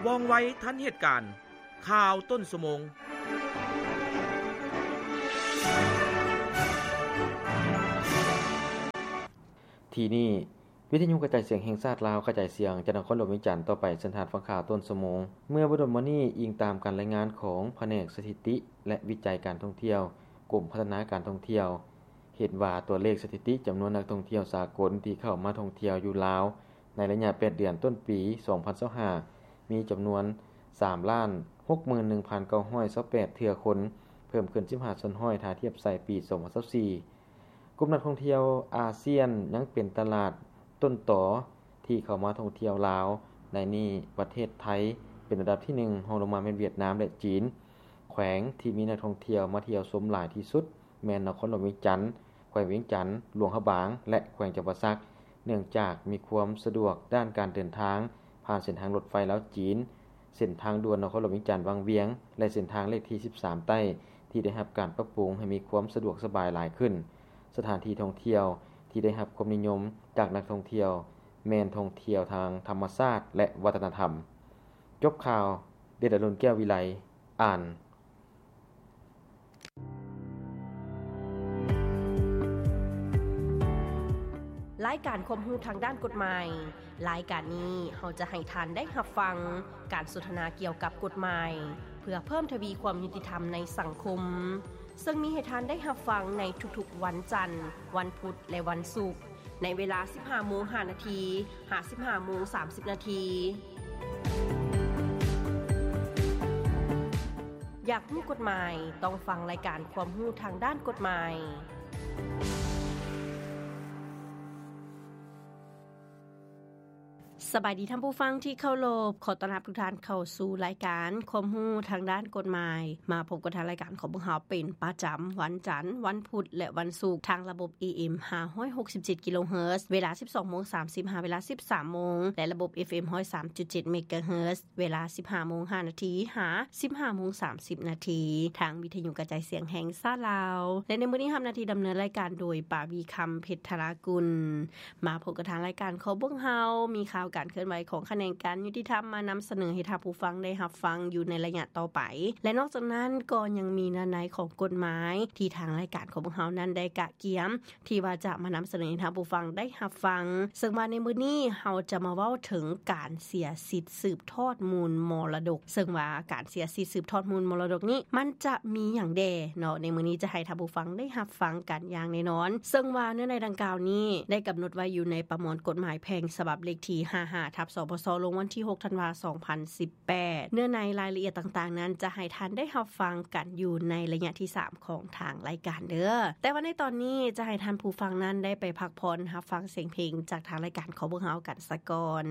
ວ່ອງໄວທັນເຫດການ. ຂ່າວຕົ້ນຊົ່ວໂມງ. ທີ່ນີ້ ວິທະຍຸກະຈາຍສຽງແຫ່ງຊາດລາວ ກະຈາຍສຽງຈາກນະຄອນຫຼວງວຽງຈັນຕໍ່ໄປ. ເຊີນທ່ານຟັງຂ່າວຕົ້ນຊົ່ວໂມງ. ເມື່ອບໍ່ດົນມານີ້, ອີງຕາມການລາຍງານຂອງພະແນກສະຖິຕິ ແລະ ວິໄຈການທ່ອງທ່ຽວ, ກົມພັດທະນາການທ່ອງທ່ຽວ ເຫັນວ່າຕົວເລກສະຖິຕິຈຳນວນນັກທ່ອງທ່ຽວສາກົນທີ່ເຂົ້າມາທ່ອງທ່ຽວຢູ່ລາວໃນໄລຍະແປດເດືອນຕົ້ນປີສອງພັນຊາວຫ້າ ມີຈຳນວນສາມລ້ານຫົກໝື່ນໜຶ່ງພັນເກົ້າຮ້ອຍຊາວແປດເທື່ອຄົນ, ເພີ່ມຂຶ້ນສິບຫ້າສ່ວນຮ້ອຍຖ້າທຽບໃສ່ປີສອງພັນຊາວສີ່. ກຸ່ມນັກທ່ອງທ່ຽວອາຊຽນຍັງເປັນຕະຫຼາດຕົ້ນຕໍທີ່ເຂົ້າມາທ່ອງທ່ຽວລາວ, ໃນນີ້ປະເທດໄທເປັນອັນດັບທີໜຶ່ງ, ຮອງລົງມາແມ່ນຫວຽດນາມ ແລະ ຈີນ. ແຂວງທີ່ມີນັກທ່ອງທ່ຽວມາທ່ຽວຊົມຫຼາຍທີ່ສຸດ ແມ່ນນະຄອນຫຼວງວຽງຈັນ, ແຂວງວຽງຈັນ, ຫຼວງພະບາງ ແລະ ແຂວງຈຳປາສັກ, ເນື່ອງຈາກມີຄວາມສະດວກດ້ານການເດີນທາງຜ່ານເສັ້ນທາງລົດໄຟລາວ-ຈີນ, ເສັ້ນທາງດ່ວນນະຄອນຫຼວງວຽງຈັນ-ວັງວຽງ ແລະ ເສັ້ນທາງເລກທີສິບສາມໃຕ້ ທີ່ໄດ້ຮັບການປັບປຸງໃຫ້ມີຄວາມສະດວກສະບາຍຫຼາຍຂຶ້ນ. ສະຖານທີ່ທ່ອງທ່ຽວທີ່ໄດ້ຮັບຄວາມນິຍົມຈາກນັກທ່ອງທ່ຽວ ແມ່ນທ່ອງທ່ຽວທາງທຳມະຊາດ ແລະ ວັດທະນະທຳ. ຈົບຂ່າວ, ເດດອະລຸນ ແກ້ວວິໄລ ອ່ານ. ລາຍການຄວາມຮູ້ທາງດ້ານກົດໝາຍ. ລາຍການນີ້ເຮົາຈະໃຫ້ທ່ານໄດ້ຮັບຟັງການສົນທະນາກ່ຽວກັບກົດໝາຍ ເພື່ອເພີ່ມທະວີຄວາມຍຸຕິທຳໃນສັງຄົມ, ເຊິ່ງມີໃຫ້ທ່ານໄດ້ຮັບຟັງໃນທຸກໆວັນຈັນ, ວັນພຸດ ແລະ ວັນສຸກ. ໃນເວລາສິບຫ້າໂມງຫ້ານາທີ ຫາ ສິບຫ້າໂມງສາມສິບນາທີ. ຢາກຮູ້ກົດໝາຍ? ຕ້ອງຟັງລາຍການຄວາມຮູ້ທາງດ້ານກົດໝາຍ. ສະບາຍດີທ່ານຜູ້ຟັງທີ່ເຄົາລົບ, ຂໍຕ້ອນຮັບທຸກທ່ານເຂົ້າສູ່ລາຍການຄວາມຮູ້ທາງດ້ານກົດໝາຍ. ມາພົບກັບທາງລາຍການຂອງພວກເຮົາເປັນປະຈຳວັນຈັນ, ວັນພຸດ ແລະ ວັນສຸກ ທາງລະບົບ ເອເອັມ ຫ້າຮ້ອຍຫົກສິບເຈັດກິໂລເຮີດ ເວລາສິບສອງໂມງສາມສິບ ຫາ ເວລາສິບສາມໂມງ ແລະ ລະບົບ ເອັຟເອັມ ຮ້ອຍສາມຈຸດເຈັດເມກາເຮີດ ເວລາສິບຫ້າໂມງຫ້ານາທີ ຫາ ສິບຫ້າໂມງສາມສິບນາທີ ທາງວິທະຍຸກະຈາຍສຽງແຫ່ງຊາດລາວ ແລະ ໃນມື້ນີ້ຮັບໜ້າທີ່ດຳເນີນລາຍການໂດຍ ປາວີຄຳ ເພັດທະລາກຸນ. ມາພົບກັບທາງລາຍການຂອງພວກເຮົາ ມີຂ່າວການເຄື່ອນໄຫວຂອງຂະແໜງການຍຸຕິທຳມານຳສະເໜີໃຫ້ທ່ານຜູ້ຟັງໄດ້ຮັບຟັງຢູ່ໃນໄລຍະຕໍ່ໄປ ແລະ ນອກຈາກນັ້ນກໍຍັງມີເນື້ອໃນຂອງກົດໝາຍທີ່ທາງລາຍການຂອງພວກເຮົານັ້ນໄດ້ກະກຽມ ທີ່ວ່າຈະມານຳສະເໜີໃຫ້ທ່ານຜູ້ຟັງໄດ້ຮັບຟັງ. ເຊິ່ງວ່າໃນມື້ນີ້ເຮົາຈະມາເວົ້າເຖິງການເສຍສິດສືບທອດມູນມໍລະດົກ, ເຊິ່ງວ່າການເສຍສິດສືບທອດມູນມໍລະດົກນີ້ ມັນຈະມີຫຍັງແດ່ເນາະ? ໃນມື້ນີ້ຈະໃຫ້ທ່ານຜູ້ຟັງໄດ້ຮັບຟັງກັນຢ່າງແນ່ນອນ. ເຊິ່ງວ່າເນື້ອໃນດັ່ງກ່າວນີ້ໄດ້ກຳນົດໄວ້ຢູ່ໃນປະມວນກົດໝາຍແພ່ງສະບັບເລກທີຫ້າຫ້າ ທັບ ສພສ ລົງວັນທີຫົກ ທັນວາ ສອງພັນສິບ ແປດ. ເນື້ອໃນລາຍລະອຽດຕ່າງໆນັ້ນ ຈະໃຫ້ທ່ານໄດ້ຮັບຟັງກັນຢູ່ໃນໄລຍະທີສາມຂອງທາງລາຍການເດີ້. ແຕ່ວ່າໃນຕອນນີ້ຈະໃຫ້ທ່ານຜູ້ຟັງນັ້ນໄດ້ໄປພັກຜ່ອນຮັບຟັງສຽງເພງຈາກທາງລາຍການຂອງພວກເຮົາກັນສາກ່ອນ.